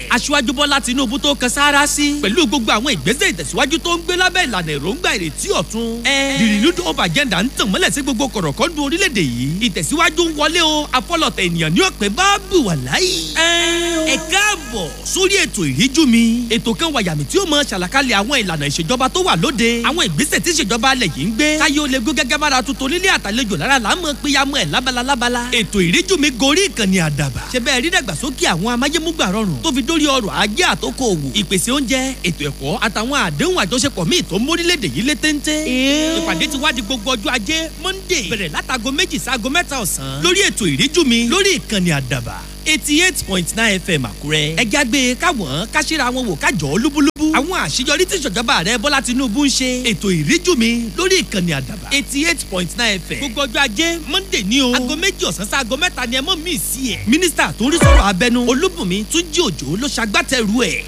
Aṣíwájú Bọ́lá Tinubu tó kan sáárá sí pẹ̀lú gbogbo àwọn ìgbésẹ̀ ìtẹ̀síwájú tó ń gbé lábẹ́ ìlànà èròǹgbà ìrètí ọ̀tun. The Renewed Hope Agenda ń tàn mọ́lẹ̀ sí gbogbo kọ̀rọ̀kọ́ndù orílẹ̀-èdè yìí. Ìtẹ̀síwájú ń wọlé o, afọlọ̀tẹ̀ ènìyàn ní ọ̀pẹ bá bù wà láyé. Ẹ káàbọ̀ sórí ètò Ìríjú Mi. Ètò kan wàyàmì tí ó mọ ṣàlàkalẹ̀ àwọn ìlànà ìṣèjọba tó wà lóde. Àwọn ìgbésẹ̀ tí ìṣèjọba alẹ̀ yìí ń gbé. Káyé ó lè gún gẹ́gẹ́ bára tuntun nílé àtàlejò lára là ń mọ péyàmọ́ ẹ̀ lábala lábala. Ètò Ìríjú Mi gorí ìkànnì Àdàbà. Ṣé bẹ́ẹ̀ rí dàgbàsókè àwọn amáyémúgbà rọrùn tó fi dórí ọrọ̀ ajé àtòkò òwò. Ìpèsè oúnjẹ, ètò ẹ̀kọ́ àtàwọn àdéhùn àjọṣepọ̀ míì tó ń mórílẹ̀-èdè yìí lé téńté. Ìpàdé ti wá di gbogbo ọjọ́ Ajé Monday bẹ̀rẹ̀ látago 2 sáago 3 ọ̀sán lórí ètò Ìríjú Mi lórí ìkànnì Àdàbà 88.9 FM Àkúrẹ́. Ẹ jágbe káwọn káṣíra wọn wò kájọ lúbúlúbú. Àwọn àṣeyọrí tí ìṣèjọba rẹ Bọ́lá Tinubu ń ṣe. Ètò Ìríjú Mi lórí ìkànnì Àdàbà 88.9 FM. Gbogbo ọjọ́ Ajé Monday ní o. Aago 2 ọ̀sán sáago 3 ni ẹ mọ̀ mí sí ẹ̀. Mínísítà tó ń rí sọ̀rọ̀ abẹnú Olúbùnmi Túnjí Òjó ló ṣagbátẹrù ẹ̀.